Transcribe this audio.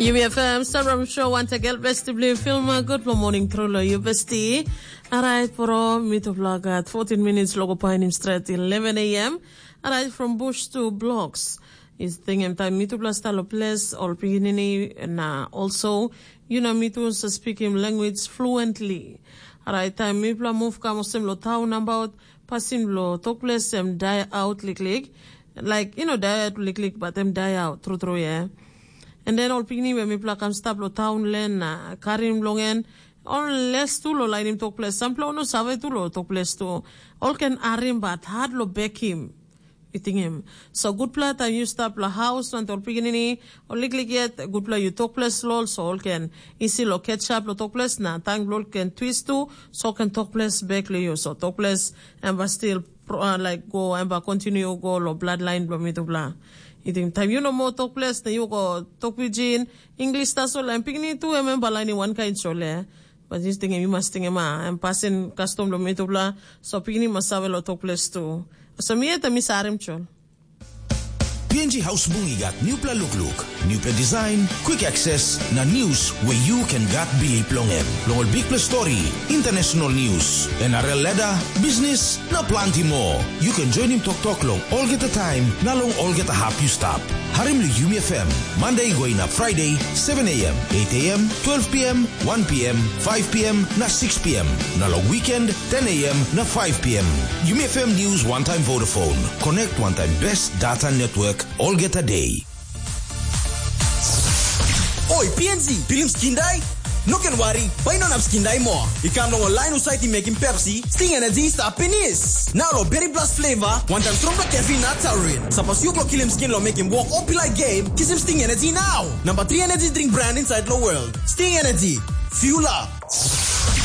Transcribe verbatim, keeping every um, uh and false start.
Yumi F M Sabram Show, wantakel besti bilong Filma. Good morning, Trolo, you besti. Alright, bro, mitupla gat fourteen minutes logo painim stret eleven a m. Alright, from bush to blocks. Is tingim taim mitupla stalo ples ol pikinini na also, you know, mitu sa speakim language fluently. Alright, taim mipla move kam olsem lo town about, pasin lo tok ples em die out liklik. Like, you know, die out liklik, but em die out, true true, yeah. And then ol pikinini we mipla kam stap lo town len na karim long en, ol les tu lo lainim tok ples, sampela no save tu lo tok ples tu. Ol ken arim but hard lo bekim. I tingim. So gutpela taim yu stap lo haus wantaim ol pikinini, ol liklik yet, gutpela yu tok ples lo ol, so ol ken isi lo ketchup lo tok ples na tang bilong ol ken twist tu, so ken tok ples bek lo yu. So tok ples em ba stil pro- uh, like go em ba continue go lo bloodline bilong mitupela. I ting taim yu no mo tok ples na yu go tok pidgin, English tasol em pikinini tu em em ba lainim wankain sole. But yu tingim, yu mas tingim ah, em pasin kastom lo mitupela, so pikinini mas save lo tok ples tu. So mi yet mi sarim chol. P N G Haus Bung i gat nupela lukluk, nupela design, quick access na news we you can gat bilip long em. Long ol bikpela story, international news, N R L ladder, business, na planti moa. You can joinim toktok long olgeta taim na long olgeta hap you stap. Harim lo Yumi F M, Monday go inap Friday, seven a.m., eight a.m., twelve p.m., one p.m., five p.m. na six p.m. Na long weekend, ten a.m. na five p.m. Yumi F M News one time Vodafone. Connect one time best data network olgeta day. Oi, P N Z, pilim skin dai? No ken wari, bai no nap skin dai moa. I kam long ol lain husat i mekim Pepsi, Sting Energy i stap pinis. Nau lo Berry Blast flavor, wantaim strongpela caffeine na taurine. Sapos yu go kilim skin lo mekim wok o pilai game, kisim Sting Energy nau. Number three energy drink brand inside lo world. Sting Energy. Fuel up.